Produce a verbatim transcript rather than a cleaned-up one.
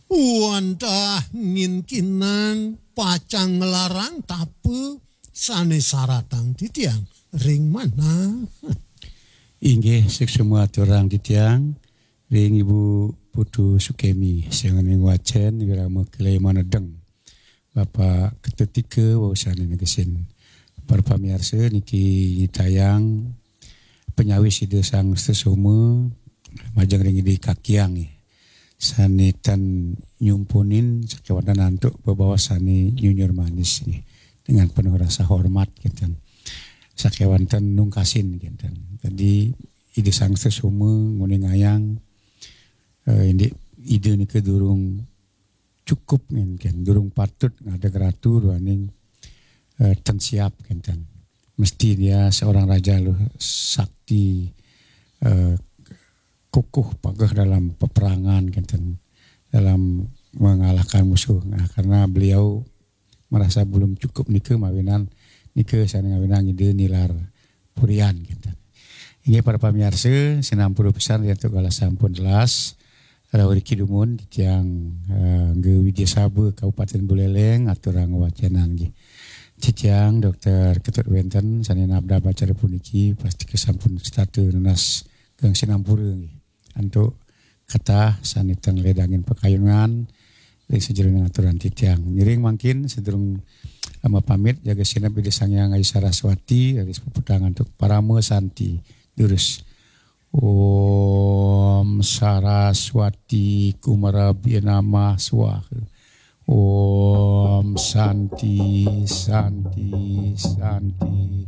Wantah nginkinang pacang nglarang tapa sane saratang titiang ring manah. Inggih, suksma aturang titiang ring Ibu Putu Sukemi, sing ngwacen wirama kile manedeng. Bapak Ketut Tika, wau sane negesin. Para pamiarsa, niki nyitayang panyawis Ida Sang Sesoma majeng ring Ida Kakiang, sane tan nyumpunin sakewanten antuk bebaos sane nyunyur manis nggih, dengan penuh rasa hormat kinten. Sakewanten nungkasin kinten. Tadi Ida Sang Sesoma nguningayang, eh, indik Ida nika durung cukup nginken, durung patut ngadeg ratu duaning, eh, tan siap kinten. Mesti dia seorang raja luh sakti, eh, kukuh pageh dalam peperangan kinten, dalam mengalahkan musuh. Nah, karena beliau merasa belum cukup nika mawinan nika sane ngawinang Ida nilar purian kinten. Inggih para pamiarsa, sinampura pisan yen antuk galah sampun telas. Rauh riki dumun titiang, eh, Angga Widya Saba Kabupaten Buleleng aturang wacenan nggih. Titiang Dokter Ketut Wenten sane nabdab acara puniki pastika sampun setata nunas geng sinampura nggih. Antuk ketah sane ten ledangin pakayunan ring sajeroning aturan titiang. Ngiring mangkin sadurung, eh, mapamit jaga sineb Ida Sang Hyang Ayu Saraswati, raris puputang antuk parama santi. Durus. Om Saraswati Kumarabhya Namah Swaha. Om Santi, Santi, Santi.